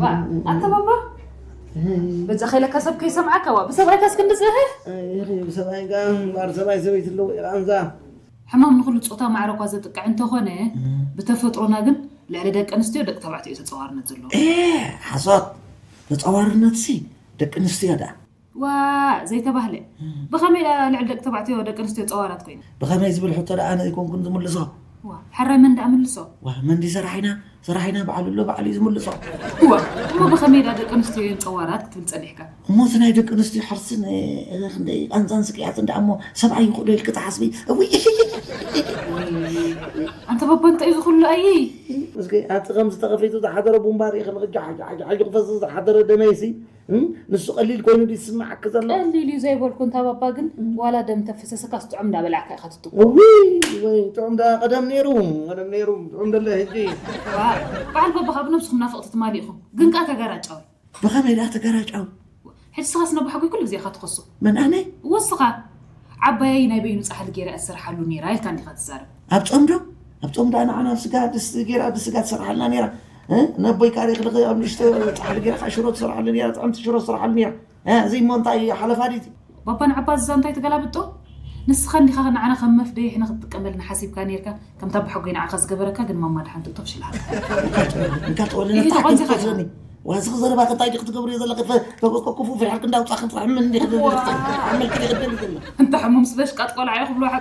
ዋ፣ ኣታ ባባ፣ በጃ ከይለካ ሰብ ከይሰምዓካ፣ ዋ፣ ብሰብኣይካስ ክንዲ ጽህህ? ሰብኣይ ጋ እምበኣር ሰብኣይ ሰበይቲ ኣለዎ ኢቓንዛ። ሕማም ንኹሉ ጾታ ማዕረ እኳ ዘጥቅዕ እንተኾነ፣ ብተፈጥሮና ግን ልዕሊ ደቂ ኣንስትዮ ደቂ ተባዕትዮ እዩ ተጸዋርነት ዘለዎ። ሓሶት። ተጸዋርነትሲ ደቂ ኣንስትዮ ደኣ። ዋ፣ ዘይተባህለ። ብኸመይ ደኣ ልዕሊ ደቂ ተባዕትዮ ደቂ ኣንስትዮ ጸዋራት ኮይና? ብኸመይ ዝብል ሕቶ ደኣ ኣነ ኣይኮንኩን ዝምልሶ። ዋ፣ ሕራይ መን ደኣ ምልሶ? ዋ፣ መን ድዩ ሰራሕ ኢና? ሰራሕ ኢና በዓሉ ኣሎ በዓሉ እዩ ዝምልሶ። ዋ፣ እሞ ብኸመይ ደኣ ደቂ ኣንስትዮ እየን ጸዋራት ክትብል ጸኒሕካ? እሞ እቲ ናይ ደቂ ኣንስትዮ ሕርስን ክንደይ ቃንዛን ስቅያትን ደኣ እሞ ሰብኣይ ይኽእሎ ኢልኪ ትሓስቢ? እውይ። ኣንተ ባባ እንታይ እዩ ዝኹሉ ኣይ? እስኪ ኣቲ ከምዚ ተኸፊቱ ዝሓደረ ቡምባ ርኢኺ ንኽጃ ሓጃ ሓጃ ሓጂ ክፈስስ ዝሓደረ ደመይሲ ንሱ ቀሊል ኮይኑ ድዩ ዝስምዓኪ ዘሎ? ቀሊል እዩ ዘይበልኩ እንታ ባባ ግን ዋላ ደም ተፍሰሰካ ስጥዑም እንዳበላዕካ ኢኻ ትትኮ። ውይ ወይ ጥዑም ዳ ቀደም ነይሩ ቀደም ነይሩ ጥዑም ደለ ሕጂ። በዓል ባባ ካብ ነብስኹም ናፍቕቲ ትማሊ ኢኹም ግን ከኣ ተጋራጫዊ። ብኸመይ ደኣ ተጋራጫዊ? ሕጂ ስኻስ ነባሕጎይ ኩሉ ግዜ ኢኻ ትኸሶ። መን ኣነ? ወስኻ ዓባየይ ናይ በይኑ ጻሕሊ ገይራ እያ ትሰርሓሉ ነይራ ኢልካ እንዲኻ ትዛረብ። ኣብ ጾም ዶ? ኣብ ጾም ደኣ ንዓና ኣብ ስጋ ድስቲ ገይራ ብስጋ ትሰርሓልና ነይራ። ነቦይ ካሪ ክልኸ ኣብ ንሽተ ጻሕሊ ገይራ ከዓ ሽሮ ትሰርሓሉ ነይራ፣ ጥዕምቲ ሽሮ ትሰርሓሉ ነይራ። እዚ እሞ እንታይ ሓለፋ ድዩ? ባባ ንዓባ እዛ እንታይ ትገላብጦ? ንስኻ እንዲኻ ንዓና ከም መፍደይሒ ንክትጥቀመልና ሓሲብካ ነይርካ። ከምታ ኣቦሓጎይ ንዓኻ ዝገበረካ ግን ማማ ደሓን ትእቶ ፍሽልሃልካ። እንካ ጠወለና እንታይ ክትፈትለኒ? ዋዚ ክዘረባክ እንታይ ዲክ ትገብርዮ ዘለክ? ተበቆ ክፉ ፍርሕልክ እንዳውፃ ክንጥራሕ ምን እንዲክ ዓመልክ ዲክ ደሊ ዘሎ? እንተ ሕሙም ስበሽ ቃጥ ቆልዓ እዩ ክብልዋ